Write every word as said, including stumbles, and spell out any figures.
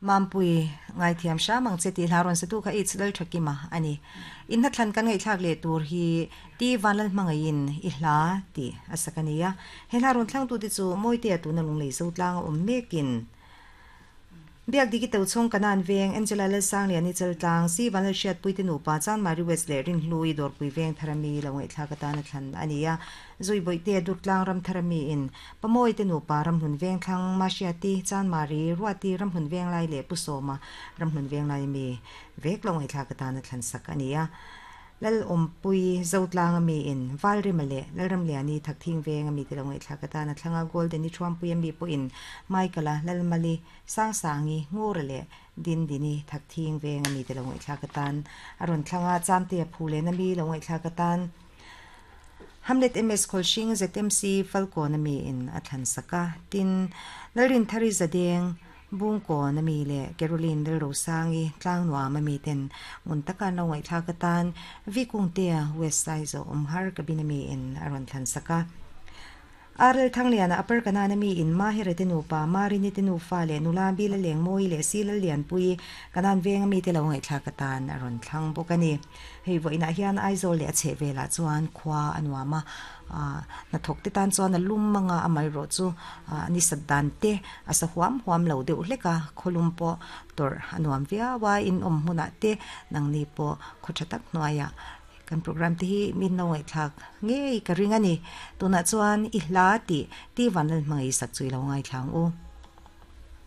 Mampui ngaithiam hram ang che tih hla rawn satu kha H Lalthakima a ni. In hnathlan kan ngaihthlak leh tur hi T Vanlal hmangaihin i hla tih a sak a ni a. He hla rawn thlangtute chu Mawitea tuna lunglei zo tlanga awm mekin Biak Diki Tochhawng Kanan Veng, Angela Lalsangliani Chaltlang, Si Vanlalhriatpui te nupa Chanmari West leh Rinhlui Dawrpui Veng Tharami lo ngaihthlak atana thlan a ni a. Zui Bawihte Durtlang Ram Tharami in Pamawi te nupa Ramhlun Vengthlang, Mahriati, Chanmari, Ruati Ramhlun Venglai leh Pu Sawma Ramhlun Venglai mi vek lo ngaihthlak atana thlan sak a ni a. Lal Awmpui Zotlang a mi in Valrima leh Lalramliani Thakthing Veng a mi te lo ngaihthlak atana thlanga Golden i Thuampui a mi pawhin Michael-a Lalmali Sangsangi Ngura leh Dindini Thakthing Veng a mi te lo ngaihthlak atan a rawn thlanga Chamtea Phulen a mi lo ngaihthlak atan Hamlet M S Khawlhring Z M C Falkawn a mi in a thlan sak a. Tin, Lalrinthari Zadeng Bungkawn a mi leh Caroline Lalrosangi Tlangnuam a mi ten ngun taka an lo ngaihthlak atan Vikungtea West Saizaw Awmhar Cabin a mi in a rawn thlan sak a. Arel Thangliana Upper Kanan a mi in Mahira te nupa Marini te nufa leh nula Bila Lengmawi leh Sila Lianpui Kanan Veng a mi te lo ngaihthlak atan a rawn thlang bawk a ni. Hei vawiinah hian Aizawl leh a chheh velah chuan khua a nuam a, hnathawk te tan chuan a lum anga amaherawh chu ni sat dan te a sa huam huam lo deuh hlek a, khawlum pawh tawrh a nuam viau a, in awm hmunah te nangni pawh khaw tha tak hnuaiah kan program te hi min lo ngaihthlak ngei ka ring a ni. Tunah chuan i hla tih Ti Vanlal hmangaih sak chu i lo ngaithla ang u.